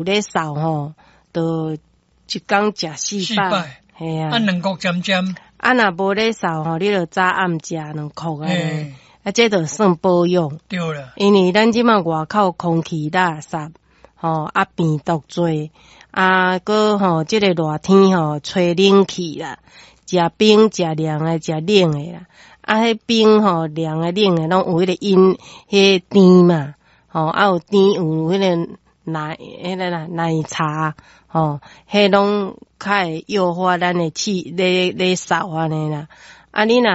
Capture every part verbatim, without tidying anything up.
咧掃吼，就一工食四四擺，擺，嘿啊。啊，兩箍針針，啊，若無咧掃吼，你就早暗食兩箍按呢，嘿，啊，這就算保養。對啦，因為咱這馬外口空氣垃圾，吼啊病毒濟，啊閣吼這個熱天吼吹冷氣啦，食冰食涼的食冷的啦，啊彼冰吼涼的冷的攏有彼個飲彼個甜嘛，吼啊有甜有彼個奶彼個啦奶茶，吼彼攏較會誘發咱的氣咧咧嗽按呢啦。啊，你若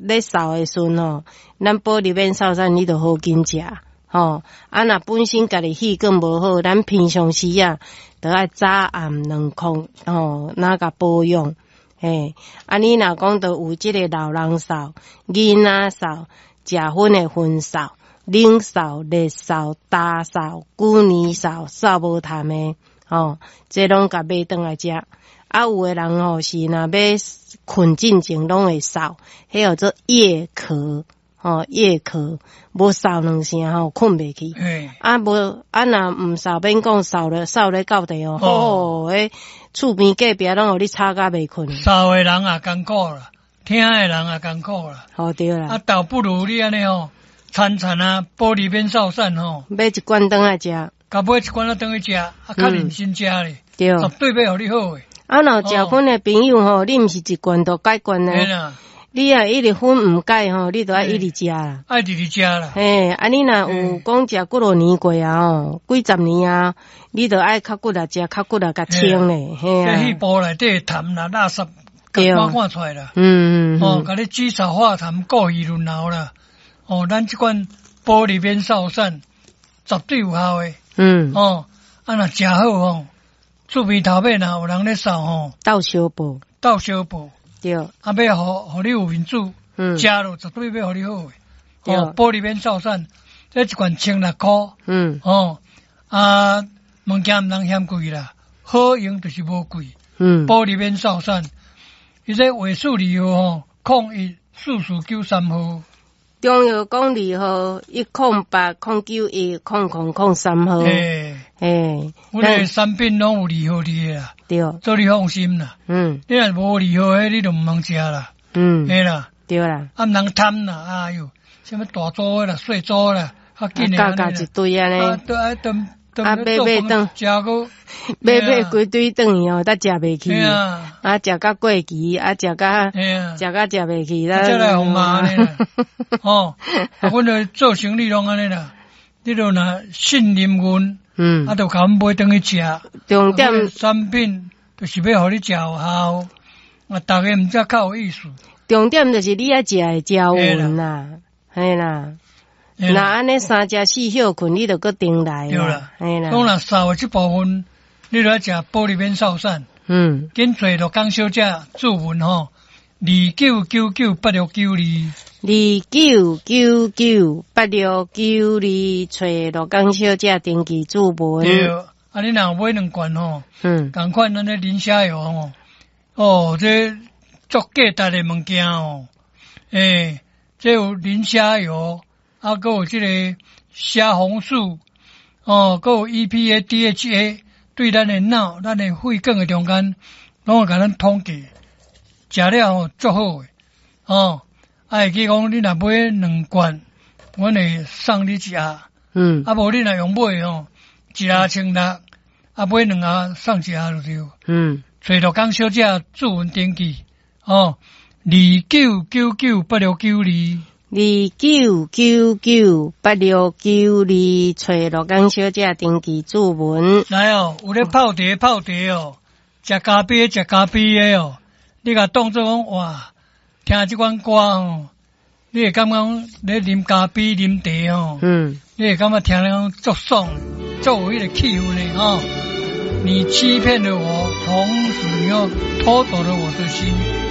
咧嗽的時陣吼，咱保利免嗽散，你就好緊食，吼。啊，若本身家己氣管無好，咱平常時啊，就愛早暗兩箍，吼，若共保養。嘿，啊，你若講著有這個老人嗽、囡仔嗽、食薰的薰嗽、冷嗽、熱嗽、焦嗽、久年嗽、嗽無痰的，吼，這攏共買轉來食。啊，有的人吼是若欲睏進前攏會嗽，彼叫做夜咳，吼夜咳，無嗽兩聲吼睏袂去。嘿，啊無啊若毋嗽免講嗽咧嗽咧到地哦，吼，彼厝邊隔壁攏予你吵甲袂睏。嗽的人也艱苦啦，聽的人也艱苦啦。吼對啦。啊，倒不如你按呢吼，餐餐啊，保利免嗽散吼，買一罐轉來食。共買一罐仔轉去食，啊，較認真食咧，對。絕對欲予你好的。啊，若有食薰的朋友吼，你毋是一罐就解決呢？你若一直薰毋解吼，你就愛一直食啦。愛一直食啦。嘿，啊，你若有講食幾落年過啊吼，幾十年啊，你就愛較骨力食，較骨力共清咧。嘿啊。這肺部內底痰啦、垃圾，共趕趕出來啦。嗯嗯。哦，共你止嗽化痰、過氣潤喉啦。哦，咱這款保利免嗽散，絕對有效的。嗯。哦，啊，若食好吼。厝邊頭尾若有人咧嗽吼，鬥相報，鬥相報，對，啊，欲予予你有面子，嗯，食落絕對欲予你好的，哦，保利免嗽散，這一罐千六箍，嗯，哦，啊，物件毋通嫌貴啦，好用就是無貴，嗯，保利免嗽散，伊這尾數二號吼，空一四四九三號。中藥講二號一空八空九一空空空三號，欸欸，阮的產品攏有二號佇的啦，對，做你放心啦。嗯，你若無二號彼，你就毋通食啦。嗯，嘿啦，對啦，啊，毋通貪啦，哎喲，啥物大組的啦、細組啦，較緊的加加一堆按呢。啊，對啊，等啊，買買轉，食閣買買規堆轉去哦，才食袂去。啊，食甲過期，啊，食甲食甲食袂去，才來予罵按呢啦。哦，啊，阮著做生意攏按呢啦，你著若信任阮，嗯，啊，就共阮買轉去食。重點產品就是欲予你食有效，啊，逐家毋才較有意思。重點就是你愛食會食穩啦，嘿啦。若按呢三食四歇睏，你就閣轉來。對啦，嘿啦。講若嗽的這部分，你著愛食保利免嗽散。嗯。緊找陸江小姐注文吼，二九九九八六九二。二九九九八六九二，找陸江小姐登記注文。對，啊，你若買兩罐吼，嗯，仝款咱的磷蝦油吼，哦，這足價值的物件哦，欸，這有磷蝦油。啊，閣有這個蝦紅素，哦，閣有 E P A、D H A，對咱的腦、咱的血管的中間，攏會共咱統計，食了吼足好的，哦，啊會記講你若買兩罐，阮會送你一盒，嗯，啊無你若用買吼，一盒千六，啊買兩盒送一盒就對，嗯，找陸江小姐注文登記，哦，二九九九八六九二。二九九九八六九二，找陸江小姐登記注文。來哦，有咧泡茶泡茶哦，食咖啡食咖啡的哦，你共當做講哇，聽這款歌哦，你會感覺講咧啉咖啡啉茶哦，嗯，你會感覺聽咧講足爽，足有彼個氣氛的哦。你欺騙了我，同時你又偷走了我的心。